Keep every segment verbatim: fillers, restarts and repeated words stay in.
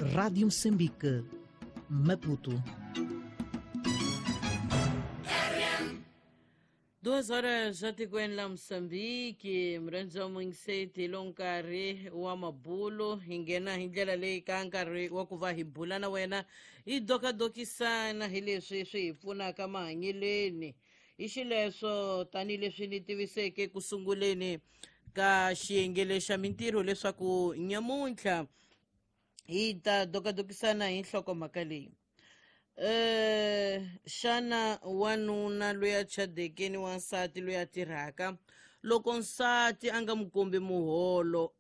Rádio Moçambique, Maputo. Duas horas já tikweni la Moçambique, murhandzi wa muyingiseti lo nkarhi wa mabulo hi nghena hi ndlela leyi ka nkarhi wa ku va hi bula na wena hi dokadokisana hi leswi swi hi pfunaka mahanyeleni hi xileswo tanihileswi ni tiviseke ku sunguleni ka xiyenge xa mintirho leswaku nyamuntlha hi ta dokadokisana hi nhlokomhaka leyi. Eh xana wanuna loyi a chadeke ni wansati loyi a tirhaka loko nsati a nga mu kombi muholo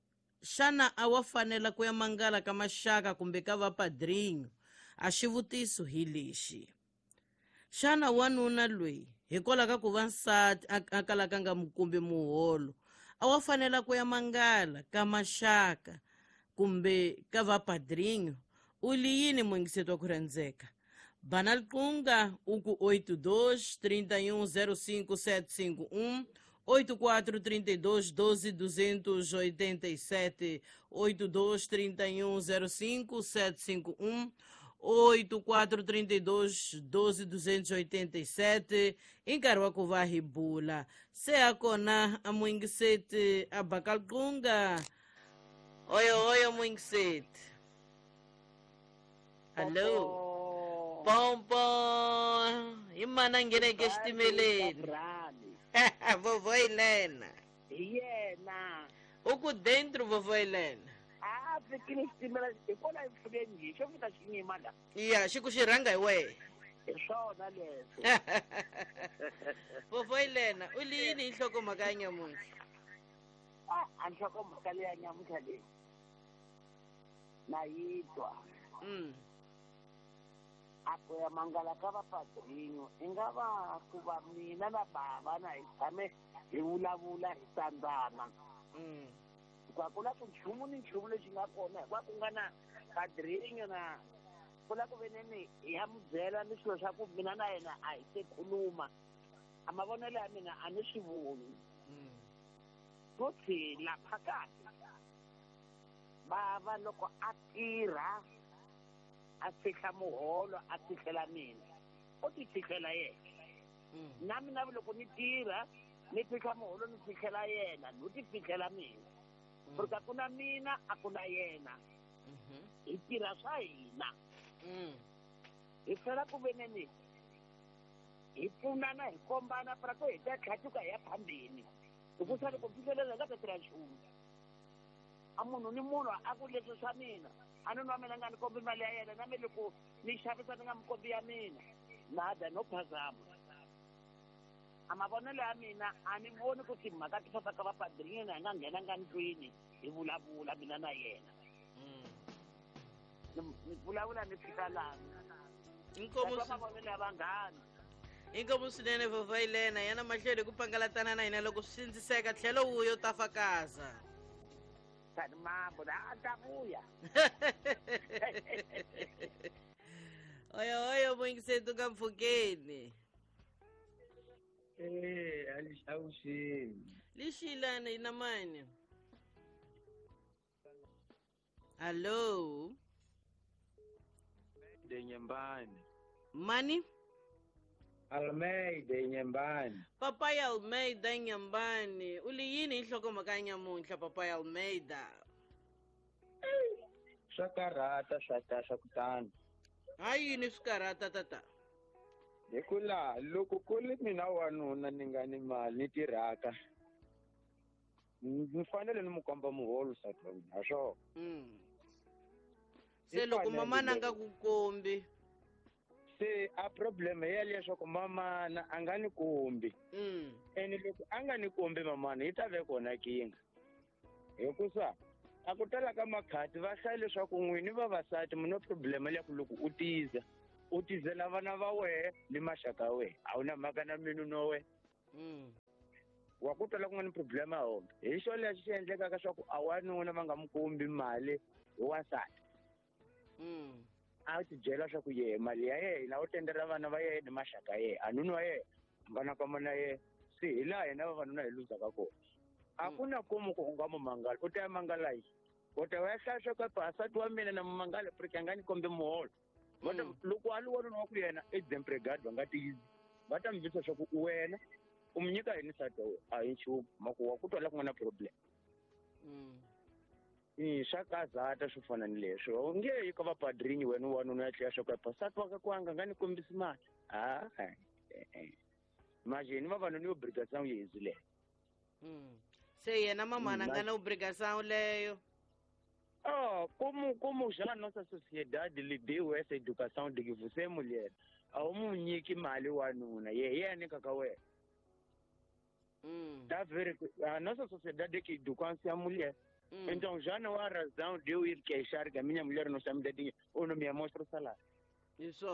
xana a wa fanela ku ya mangala ka maxaka kumbe ka vapadrinho? A xivutiso hi lexi: xana wanuna loyi hikwalaho ka ku va nsati a kalaka a nga mu kombi muholo a wa fanela ku ya mangala ka maxaka kumbe ka vapadrinho? U li yini muyingiseti wa ku rhandzeka? Banal Kunga, uku oito dois, trinta e um, zero cinco sete cinco um, oito quatro, trinta e dois, doze, duzentos e oitenta e sete, oito dois, trinta e um, zero cinco sete cinco um, oito quatro, trinta e dois, doze, duzentos e oitenta e sete, Encarua Ribula. Se a kona a Muingisete a Bakalkunga. Oi, oi, Muingisete. Alô. Bom, bom. Imana ngene ke xitimeleni. Vovó Helena. Yena. Uku dentro, vovó Helena. Ah, fikile xitimela hikwalaho mpfuleni xo fika xi nyima la. Iya, xi ku xi rhanga hi wehe. Hi swona leswo. Vovó Helena, u li yini hi nhlokomhaka ya nyamuntlha? Ah, a nhlokomhaka leya nyamuntlha leyi na yi twa. Mm. A ku ya mangala ka vapadrinho i nga va ku va mina na bava na hi tshame hi vulavula hi tsandzana. Hikuva ku la ku nchumu ni nchumu lexi nga kona hikuva ku nga na padrinho na ku la ku veneni hi ya mu byela ni swilo swa ku mina na yena a hi se khuluma. A mavonelo ya mina a ni swi voni. Futhi la phakathi bava loko a tirha a fihla muholo a fihlela mina u ti fihlela yena. Na mina loko ni tirha ni fihla muholo ni fihlela yena ni ti fihlela mina. Porque a ku na mina a ku na yena. Hi tirha swa hina. Hi tlhela ku veneni hi pfunana hi kombana para ku hi ta tlhatuka hi ya phambeni. Hikusa loko fihlelela hi nga ta tirha nchumu. A munhu ni munhu a ku leswi swa mina a ni nwa mina nga ni kombi mali ya yena na mi loko ni xavisa ni nga mi kombi ya mina nada no phazama. A mavonelo ya mina a ni voni ku timhaka ti famba ka vapadrinho hi nga nghenanga ndlwini hi vulavula mina na yena. Ni vulavula ni fika lani. Inkomo mavonelo ya vanghana. Inkomo swinene vovó Helena, yana mahlweni ku pangalatana na hina loko swi sindziseka tlhelo wuyo ta fakaza. Mambo na ta vuya. Oyo oyo muyingiseti ka mpfhukeni. Eh, alixawuxeni. Lixilana ina mani? Allo. De Nyembani. Mani? Almeida Nyembani. Papai Almeida Nyembani. U li yini hi nhlokomhaka ya nyamuntlha Papai Almeida? Swa karhata swa ta swa kutani. Ha yini swi karhata tata? Hi ku laha loko ku ri mina wanuna ni nga ni mali ni tirhaka ni fanele ni mu komba muholo nsati wa mina ha swona. Se loko mamana a nga ku kombi se a problem ya leswaku mamana a nga ni kombi. Ene loko a nga ni kombi mamana yi ta ve kona kinga. Hikusa a ku tala ka makhati va hlaya leswaku n'wini vavasati mi na problem ya ku loko u tiza u tizela vana va wehe ni maxaka ya wehe a wu na mhaka na minu no wehe. Wa ku tala ku nga ni problem ya hona. Hi xo lexi xi endlekaka swa ku a wanuna va nga mu kombi mali hi wansati. A ti byela swa ku yehe mali ya yena u tendela vana va yena ni maxaka ya yena a nuna wa yena vana ka mana yena se hi laha hina vavanuna hi luzaka kona. A ku na komu ku u nga mu mangala u ta ya mangala yini? U ta va hlaya swa ku nsati wa mina na mangala porque a nga ni kombi muholo. Va ta loko a li wanuna wa ku yena i desempregado va nga tiyisi. Va ta mi vutisa swa ku wena u mi nyika yini nsati wa wena? A hi nchumu mhaka wa ku twa la ku nga na problem. Mm. Swa kazata swo fana ni leswo. U nge yi ka vapadrini wena wanuna ya tlhela swa ku nsati wa ka kwanga nga ni kombisi mali. Ah, eh. Imagine vavanuna yo obrigação yenzi leyo. Mm. Se yena mamana nga na obrigação leyo. Oh, como como já a nossa sociedade lhe deu essa educação de que você é mulher, a um nyiki mali wanuna, ye ye nyika ka wena. Mm. Tá ver a nossa sociedade é que educa a mulher. Hum. Então já não há razão de eu ir queixar que a minha mulher não está me dando dinheiro ou não me mostra o salário. Isso.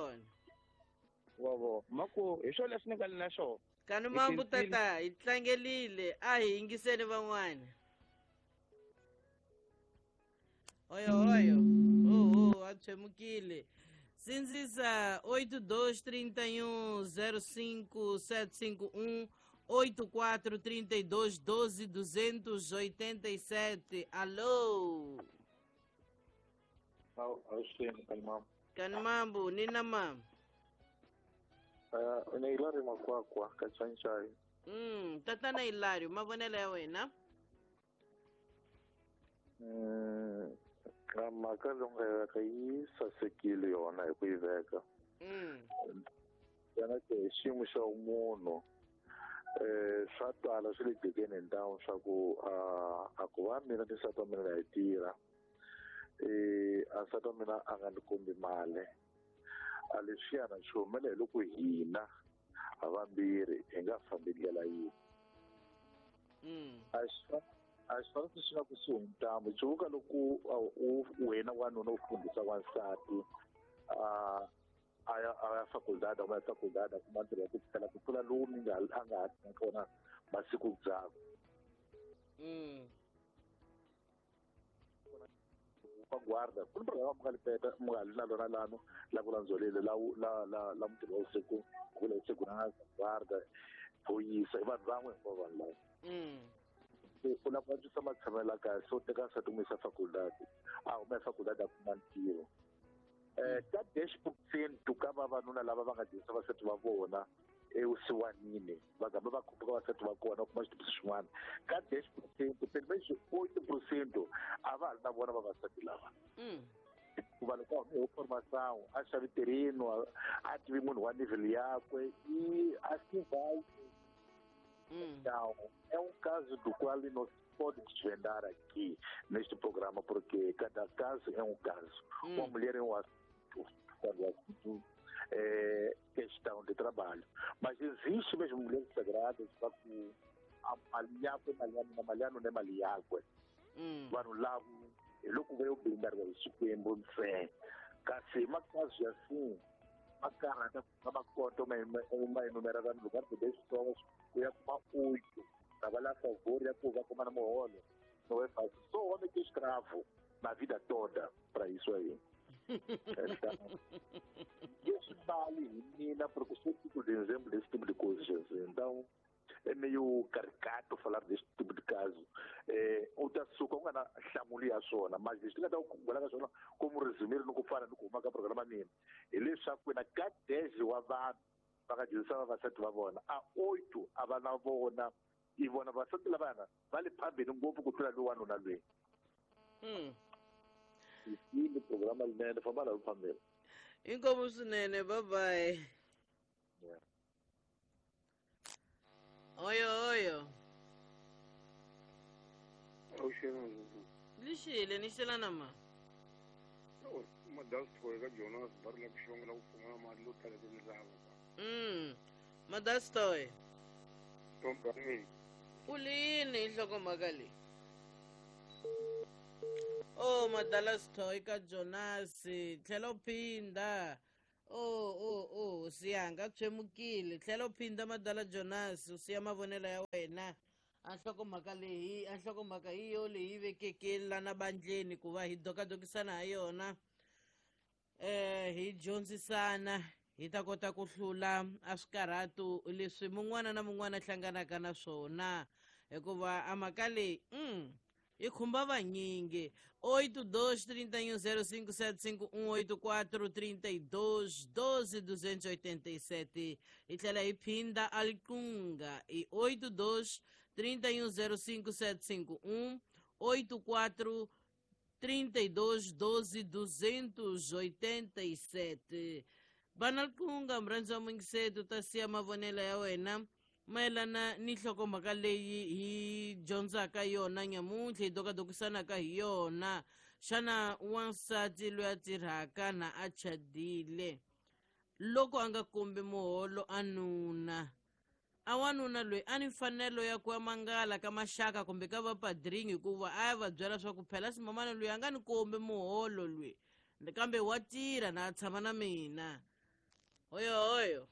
Wavo, mako, isso leswi ni nga na swona. Kani mambu tata, hi tlangelile, a hi yingiseni van'wana. Oyo oyo, oh oh, a tshemukile. Sindzisa oito dois trinta e um zero cinco sete cinco um oito quatro trinta e dois doze duzentos e oitenta e sete. Alô. Alô, Kanimambu, nina mam. Uh, ni Hilario Makwakwa, Kachanchai. Mm, tatana Hilario, mavonelo ya wena? Mm, mhaka leyi nga yi veka yi sasekile yona hi ku yi veka. Mm. Yona ke xiyimo xa munhu eh swa twala swi le jekeni hi ntamu swa ku a ku va mina ni nsati wa mina hi tirha eh a nsati wa mina a nga ni kombi mali. A leswiyana swi humela hi loko hina havambirhi hi nga fambi ndlela yin'we. A swi a swi fanele swi nga kusuhi ntambu tsundzuka loko u wena wanuna u fundisa wansati a a ya a ya faculdade a ya faculdade a kuma ntirho wa ku tlhela ku tlula lowu mi nga a nga ha tirhaka wona masiku ndzhaku. Pa guarda ku ni programa mi nga li peta mi nga li na lona lano la ku landzolele la la la la mutirhi wa vusiku ku vula segurança guarda phoyisa i vanhu van'we hinkwavo vanhu lava. U lava ku antswisa matshamelo ya kahle so teka nsati n'wi yisa faculdade a huma faculdade a kuma ntirho. Eh ka dez por cento ka vavanuna lava va nga dyondzisa vasati va vona evusiwanini va gamba va khumbuka vasati va kona u kuma xitibiso xin'wana ka dez por cento pelo menos oito por cento a va ha ri na vona vavasati lava. Hikuva loko a hume hi formação a xavi terreno a tivi munhu wa nível yakwe e assim vai. Então, é um caso do qual não se pode desvendar aqui neste programa, porque cada caso é um caso. Hum. Uma mulher é um assunto, quando o assunto é questão de trabalho. Mas existe mesmo mulheres sagradas que vanhu lava hi loko va yo bindariwa hi Xikwembu ntsena. Kasi makazi assim ma karhata ku va kota ma ma enumera vanhu loko va ri leswitsongo ku ya kuma oito trabalhar a favor ya ku va kuma na muholo não é fácil. Só o homem que é escravo na vida toda para isso aí. Então, isso vale mina porque sou tipo de exemplo desse tipo de coisa, gente. Então é meio caricato falar desse tipo de caso. É, o açúcar nga na nhlamulo ya swona, mas leswi nga ta ku vulaka swona como resumir ni ku fana ni ku huma ka programa mina hileswaku na ka dez wa vanhu va nga dyondzisa vavasati va vona a oito a va na vona i vona vavasati lavana va le phambili ngopfu ku tlula lowu wanuna loyi. Mm. Yini programa linene famba la phambili. Inkomu swinene, bye bye. Yeah. Oyo oyo. Lixile ni xelana ma. Madastoy ka Jonas va ri la ku xivangelo ku pfumala mali yo tala ku lava. Mm. Madastoy. Tombani. U li yini hi nhlokomhaka leyi? Oh, Madalastoy ka Jonas, tlhela u phinda. Oh, oh, oh, siyanga tshemukile. Tlhela u phinda Madala Jonas, u siya mavonelo ya wena. A nhlokomhaka leyi, a nhlokomhaka hi yo leyi vekeke lana bandleni ku va hi dokadokisana ha yona. Eh, hi dyondzisana hi ta kota ku hlula a swikarhatu leswi mun'wana na mun'wana hlanganaka na swona hikuva a mhaka leyi mm, Yi khumba vanyingi. Oito dois trinta e um zero cinco sete cinco um oito quatro trinta e dois doze duzentos e oitenta e sete. Hi tlhela hi phinda Alkunga i oito dois trinta e um zero cinco sete cinco um oito quatro trinta e dois doze duzentos e oitenta e sete. Banalkunga mrhandzi wa muyingiseri ta siya mavonelo ya wena mayelana ni nhlokomhaka leyi hi dyondzaka yona nyamuntlha, hi dokadokisanaka hi yona. Xana wansati loyi a tirhaka na a chadile loko a nga kombi muholo a nuna, a wanuna loyi a ni mfanelo ya ku ya mangala ka maxaka kumbe ka vapadringi, hikuva a ya va byela swa ku phela ximamana loyi a nga ni kombi muholo loyi, kambe wa tirha na a tshama na mina. Hoyo hoyo.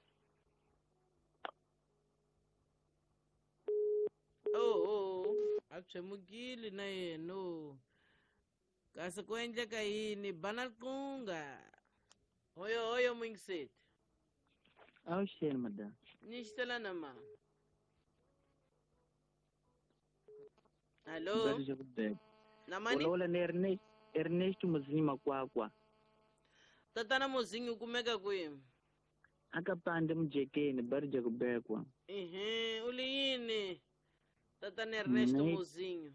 Oh, oh, a tshemukile na yena. Kasi ku endleka yini? Banalkunga. Hoyo hoyo muyingiseri. Avuxeni madam. Ni xitela na ma. Hello. Na mani? Vulavula ni Ernest, Ernest Muzinyi Makwakwa. Tatana Muzinyi u kumeka kwihi? Aka pande Mujekeni, Barija kubekwa. Ehe, u li yini? Tatana Ernest Muzinyi.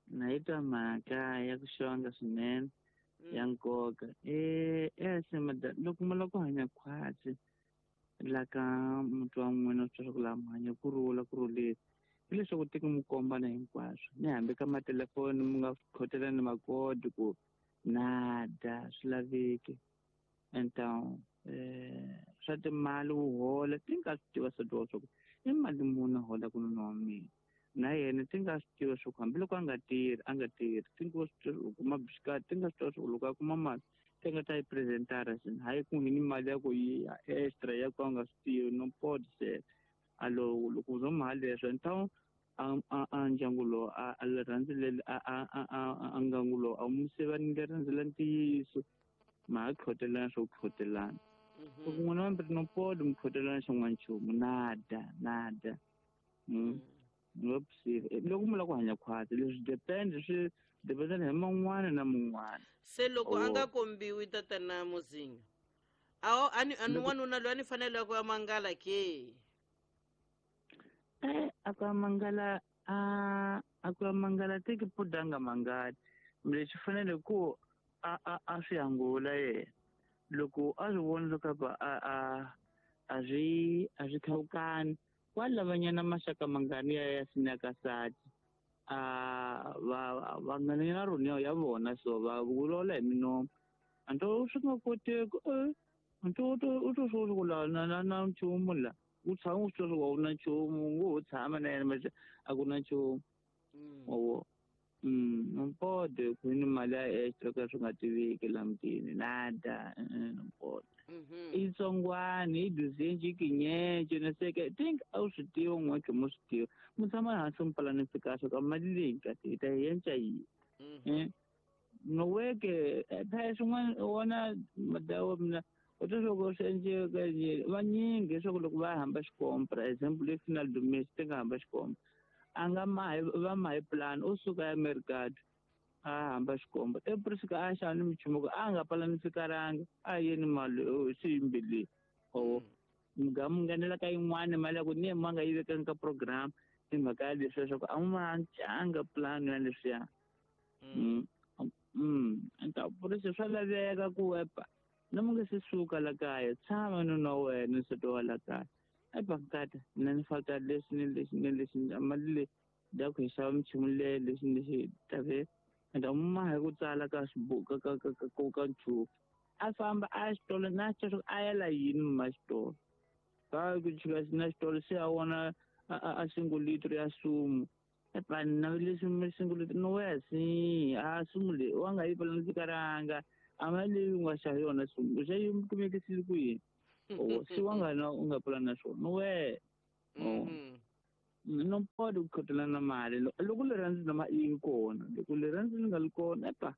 Naitwa mhaka ya ku xonga swinene ya nkoka. Eh, eh madam, loko mi lava ku hanya khwatsi la ka muti wa n'wina swi twa ku laha mi hanya ku rhula ku rhulile, hi leswaku teki mi kombana hinkwaswo, ni hambi ka matelefoni mi nga khotelani makodi ku nada swi laveki. Então eh swa timali wu hola ti nga swi tiva swa swa ku i mali muni a holaka nuna wa mina, na yena ti nga swi tiva swa ku hambiloko a nga tirhi a nga tirhi ti nga swi tiva u kuma bisikati, ti nga swi tiva swa ku loko a kuma mali ti nga ta yi presentara swini, hayi ku ngheni mali ya ku yi extra ya ku a nga swi tivi no pode ser. Alo loko u zo mali leswo então a a a ndyangu lowu a a rhandzile a a a a ngangu lowu a mu sivanile rhandzela ntiyiso, ma ha khotelana swo khotelana. Loko n'wina vambirhi no pode mi khotelana xin'wana nchumu nada nada. Loko mi lava ku hanya khwatsi leswi depend swi dependana hi man'wana na mun'wana. Se loko a nga kombiwi tatana Muzinyi, a ani ani wanuna loyi a ni fanele ku ya mangala ke? Eh, a ku ya mangala a a ku ya mangala teki pudanga mangala. Lexi fanele ku a a a swi angula yena. Loko a swi vona leswaku a a a swi a swi khawukani, wa lavanyana maxaka mangani ya ya sinyakasati a va va ngana rona ya vona, so va vulavula hi minomo. Anto swi nga koteki, eh anto u to u to swi ku la na na na nchumu la u tshama u swi tiva ku a wu na nchumu, u ngo ho tshama na yena manje a ku na nchumu. Wa mm no pode ku ni mali ya extra ka swi nga tiveki la mutini nada, no pode. I tsongwana i duzenji kinyenje na seke think a wu swi tiva n'we khe mo swi tiva mu tshama hansi mi palanisi kahle ka mali leyi kahle hi ta yi endla yini. Eh no weke phela swin'wana wona madawa mina u twa swa ku swi endleka vanyingi leswaku loko va hamba xikompra example le final domestic ti nga hamba xikompra a nga mahi va mahi plan u suka ya mercado a hamba xikomba ePrisika a xava ni michumu ku a nga palanisikaranga a yeni mali swi yimbile o nga mu nghenela ka yin'wana mali ya ku ni ma nga yi vekanga ka program hi mhaka ya leswi leswaku a ma canga plan ya leswiya. Mm enta purisi swa laveka ku epa na mu nga se suka la kaya tshama nuna wa wena nsati wa la kaya epa nkata mina ni faka leswi ni leswi ni leswi mali leyi da ku hi xava michumu leyi leswi ni leswi tave enda ma hi ku tsala ka swibuku ka ka ka ka ka nchumu a famba a xitolo na xitolo a yela yini ma xitolo ka ku chika na xitolo se a vona a single liter ya sumu epa na leswi mi single liter no wesi a sumu leyi wa nga yi palanisikaranga a mali leyi u nga xava yona sumu u xa yi kumekisile ku yini o si wa nga na u nga pulana swona no we no pode ku khotelana mali loko rirhandzu nama yi kona loko rirhandzu li nga li kona epa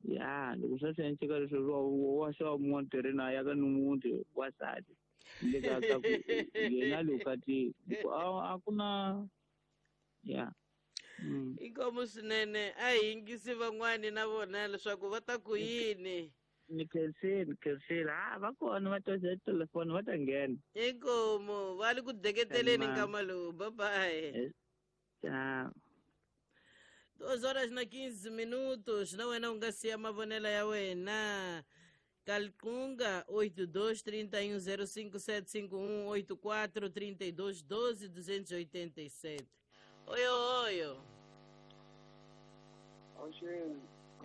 ya loko swa swi endleka leswi wa xava mun'wana tirheni a ya ka ni wasati le ka ka ku yena le vukatini a ku na ya. Inkomu swinene a hi yingisi van'wani na vona leswaku va ta ku yini. Ni khensile ni khensile ha va kona va toxa telefoni va ta nghena. Inkomu va le ku deketeleni nkama lowu. Bye bye. Tchau. Duas horas na quinze minutos. Na wena u nga siya mavonelo ya wena. Calcunga oito dois três um zero cinco sete cinco um oito quatro três dois doze duzentos e oitenta e sete. Oi, oi. Oxe.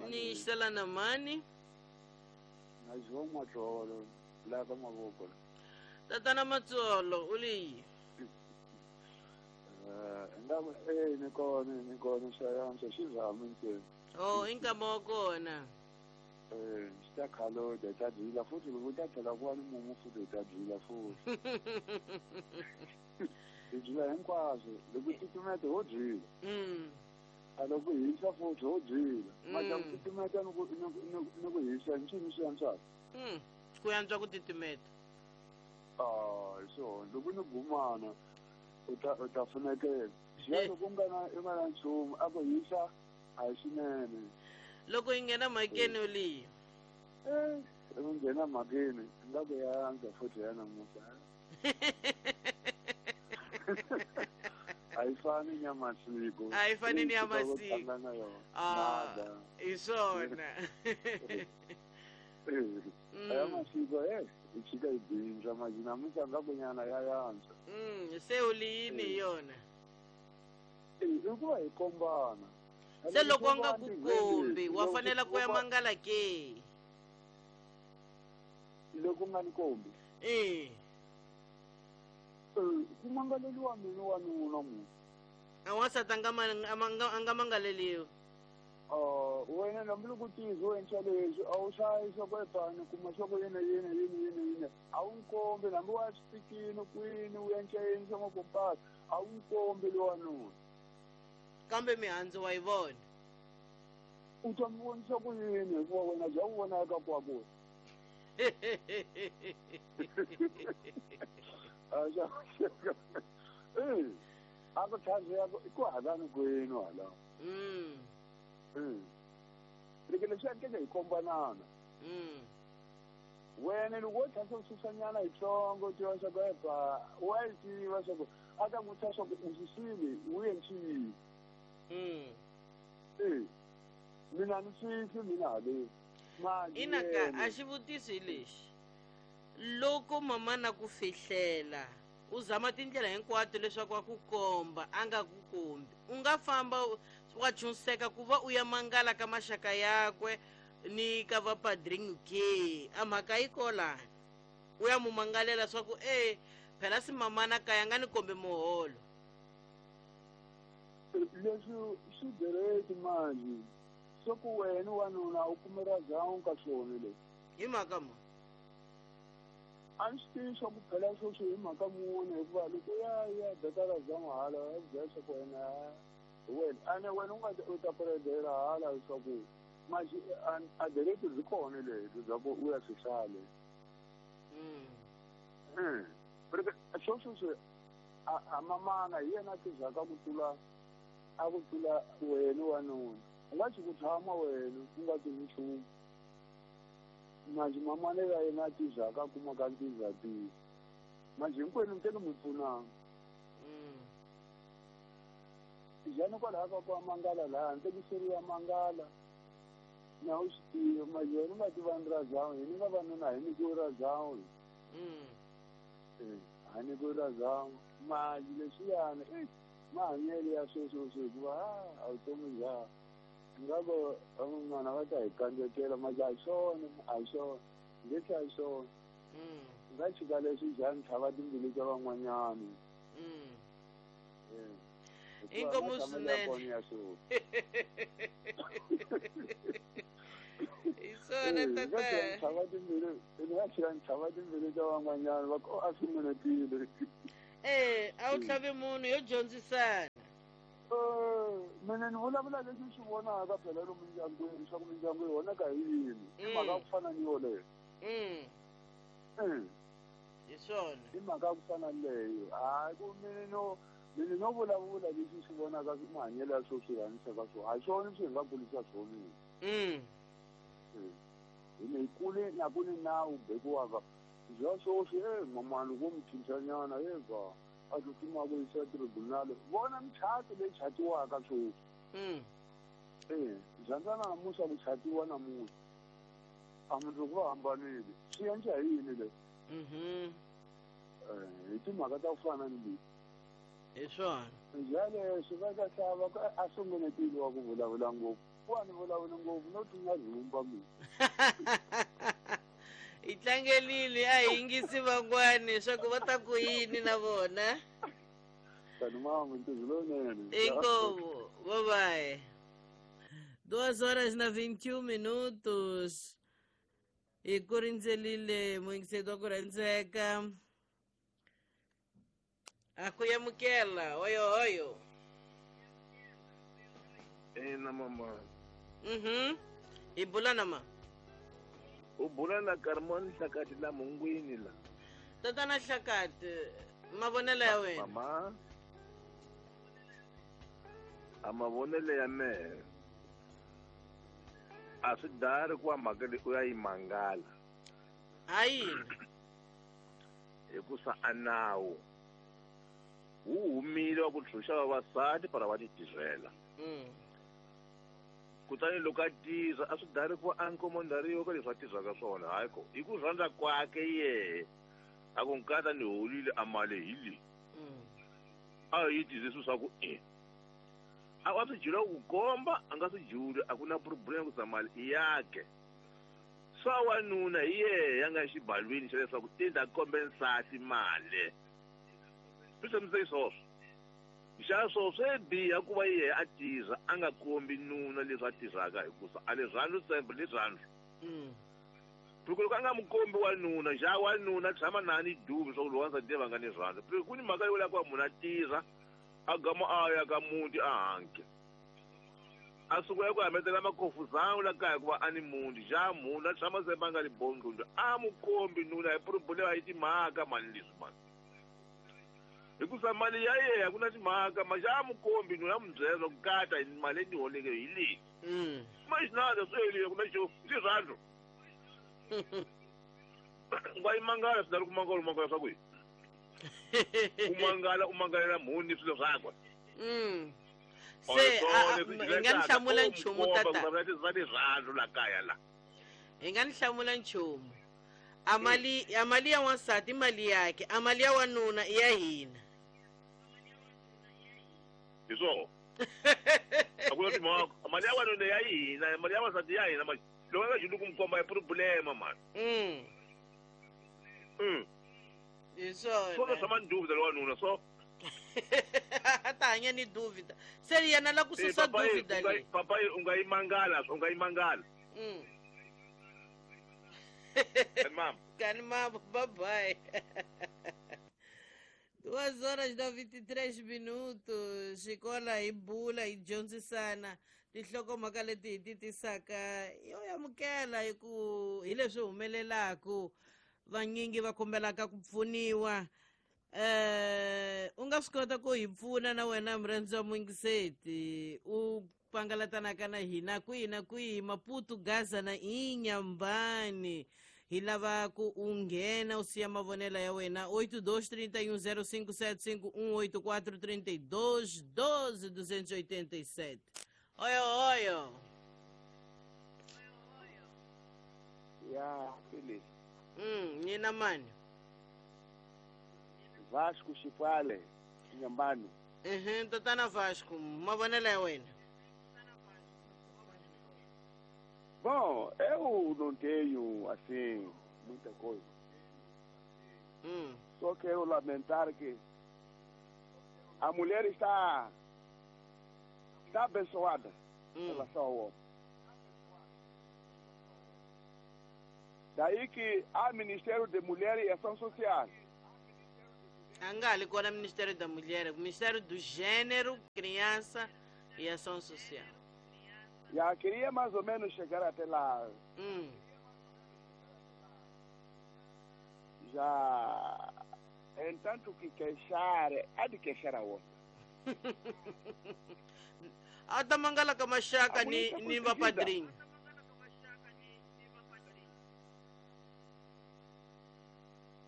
Ni sala na mani. Na João Matsolo, lá ka Mavoko. Tatana Matsolo, uli. Eh, ndaba eh ni kona ni kona xayantsha xi zama ntsena. Oh, inkama wa kona. Eh, xi ta khaloja ta dyila futhi loko ta tlhela ku va ni mumu futhi hi ta dyila futhi. Hi dyila hinkwaswo loko titimeta ho dyila. Mm. A loko hisa futhi ho dyila. Mara ku titimeta ni ku ni ku hisa ncini swi antswaka. Mm. Ku antswa ku titimeta. Ah, so loko ni gumana u ta u ta funekela. Xiya loko u nga na u nga na nchumu a ku hisa a hi swinene. Loko yi nghena mhakeni uliyi. Eh, loko nghena mhakeni nga ku ya antswa futhi ya namuntlha. A yi fani ni ya masiku. A yi fani ni ya masiku. Ah, hi swona. A ya masiku eh hi chika hi bindza manje namuntlha nga ku nyana ya yantswa. Mm, se u liyini hi yona? I ku va hi kombana. Se loko a nga ku kombi wa fanela ku ya mangala ke? Loko nga ni kombi? Eh. Ku mangaleliwa mina wanuna munhu. A wansati a nga a nga mangaleliwi. Ah, wena hambiloko u tivi u endla leswi a wu hlayi swa ku epani kuma swa ku yini yini yini yini yini a wu nkombi hambi wa swipikini kwini u endla yini swa makompasi a wu nkombi lowanuna. Kambe mihandzu wa yi vona. U ta mi vonisa ku yini hikuva wena bya ku vonaka kwaku. Eh, a ku tlhandziya ku halani kwenu hala. Mm. Mm. Loko leswi endleke hi kombanana. Mm. Wena loko wo tlhela u susanyana yitsongo u tiva swa ku epa wa yi tiva swa ku a ta n'wi vutisa swa ku u susile u endli yini. Mm. Eh. Mina ni swisi mina haleni. Manje Ina ka a xivutiso hi lexi. Loko mama na ku fihlela u zama tindlela hinkwato leswaku a ku komba a nga ku kombi u nga famba wa chunseka ku va u ya mangala ka maxaka yakwe ni ka va padrinho ke a mhaka yi kolani u ya mu mangalela swa ku e phela si mamana kaya nga ni kombe muholo. Leswi swi direct manje swa ku wena wanuna u kumela zawu ka swona leswi hi mhaka mo a ni swi tivi swa ku phela sweswo hi mhaka muni hikuva loko ya ya bekala zawu hala ya byela swa ku wena wena ane wena u nga u ta puredela hala leswaku manje a direct byi kona lebyi bya ku u ya swi hlale. Mm. Sweswo swi a mamana hi yena a tizaka ku tlula a ku tlula wena wanuna u nga xi ku tshama wena u nga tivi nchumu manje mamana ya yena a tizaka a kumaka ntizatile manje hinkwenu mi tele mi pfunanga. Njhani kwalaha ka ku mangala laha ntekiseri ya mangala na u swi tiva manje wena u nga tiva ni ra zawu hini nga vanuna hi nyikiwe ra zawu ha nyikiwe ra zawu manje leswiyani i mahanyelo ya sweswo hikuva a vutomi bya nga ku van'wana va ta hi kandzekela manje a hi swona a hi swona leswi a hi swona nga chika leswi njhani tlhava timbilu ta van'wanyana. Inkomu swinene. Hi swona tata. Tlhava timbilu nga chika tlhava timbilu ta van'wanyana va ku a swi munetile. Eh, a wu tlhavi munhu yo dyondzisana. Mina ni vulavula leswi swi vonaka phela lomu mindyangwini swa ku mindyangu yi vonaka hi yini i mhaka ya ku fana ni yoleyo. Mm. Hi swona. I mhaka ya ku fana ni leyo hayi ku mina no Mina no vulavula leswi swi vonaka mahanyelo ya swo swi hanyisaka swona a hi swona swi hi nga kulisa swona. Mm. Hina hi kule na ku ni nawu bekiwaka bya swoswi e mamani vo mi cincanyana eva a tsutsuma ku yisa tribunal vona michato leyi chatiwaka swoswi. Mm. E dyandza namuhla ku chatiwa namuntlha a mundzuku va hambanile swi endla hi yini leswi? Mhm. Hi timhaka ta ku fana ni leti. Hi swona. Njhani va ka hlava a sunguletile wa ku vulavula ngopfu. Ku a ni vulavuli ngopfu no tlunga rhumba mina. Hi tlangelile a hi yingisi van'wani leswaku va ta ku yini na vona. Tani mama ntirho lowunene. Inkomu, bye bye. Duas horas na vinte e um minutos. Hi ku rindzelile muyingiseri wa ku rhandzeka. A ku yamukela oyo oyo. Ina mama. Mhm. Hi bula na ma. U bula na Carmon Hlakati la Mungwini la. Tatana Hlakati, mavonelo ya wena. Mama. A mavonelo ya mehe. A swi dari ku mhaka leyi u ya yi mangala. Ha yini? Hikusa a nawu wu humile wa ku ntshunxa vavasati para va ti tirhela. Mm. Kutani loko a tirha a swi dari ku a nkomondariwa ka leswi a tirhaka swona hayi ko hi ku rhandza kwake yehe a ku nkata ni holile a mali hi leyi. A yi tirhise swilo swa ku e a wa swi jula ku komba a nga swi juli a ku na problem ku sa mali i yakhe. Swa wanuna hi yehe ya nga xibalwini xa leswaku i ta kombe nsati mali. Swi hlamusela swoswo. Xa swo swi biha ku va yehe a tirha a nga kombi nuna leswi a tirhaka hikusa a rirhandzu sembe rirhandzu. Mm. Loko loko a nga mu kombi wanuna xa wanuna tshama na ni duvi swa ku lowa nsati va nga ni rhandzu. Ku ni mhaka yo la ku va munhu a tirha a gama a ya ka muti a hanke. A sungula ku hametela makhofuzana la kaya hikuva a ni muti xa munhu a tshama sembe a nga ni bondlundlu a mu kombi nuna hi problem yi timhaka mani leswi mani. Hikusa mali ya yena a ku na timhaka ma xa mukombi nuna a mu byela ku kata hi mali leyi ni holeke hi leyi. Mm. Maxinada swi helile ku na xo rirhandzu. Nga yi mangala swi dari ku mangala u mangala swa ku yini? U mangala u mangalela mhuni swilo swakwe. Mm. Se hi nga ni hlamula nchumu tata. Va rirhandzu la kaya la. Hi nga ni hlamula nchumu. Amali amali ya wansati mali yakhe, amali ya wanuna i ya hina. Hi swona. A ku na timhaka. Mali ya wanuna ya hina, mali ya wansati ya hina mali. Loko a nga juli ku mi komba i problema mani. Mm. Mm. Hi swona. Swona swa manduvida lo wanuna so. A ta hanya ni duvida. Se yena la ku susa duvida leyi. Papa u nga yi mangala, u nga yi mangala. Mm. Mama. Kani mama, bye bye. Duas horas e vinte e três minutos. Xikola hi bula hi dyondzisana tinhlokomhaka leti hi ti tisaka yo amukela hi ku hi leswi humelelaku vanyingi va kombelaka ku pfuniwa. Eh, u nga swi kota ku hi pfuna na wena murhandzi wa muyingiseti u pangalatanaka na hina kwihi na kwihi Maputo, Gaza na Inhambane. Hi lava ku u nghena u siya mavonelo ya wena oito dois três um zero cinco sete cinco um oito quatro três dois doze duzentos e oitenta e sete. Oyo oyo. Ya, beleza. Hum, nina mani. Vasco Chifale, Inhambane. Uhum, tatana Vasco, mavonelo ya wena. Bom, eu não tenho, assim, muita coisa. Hum. Só quero lamentar que a mulher está, está abençoada hum. em relação ao homem. Daí que há Ministério de Mulher e Ação Social. Angali, qual é o Ministério da Mulher? O Ministério do Gênero, Criança e Ação Social. Já queria mais ou menos chegar até lá. Hum. Já, entanto que queixar, há de queixar a outra. A ta mangala ka maxaka A ni polícia ni portuguesa. Vapadrinho.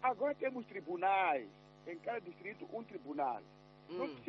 Agora temos tribunais. Em cada distrito, um tribunal. Não Hum. precisa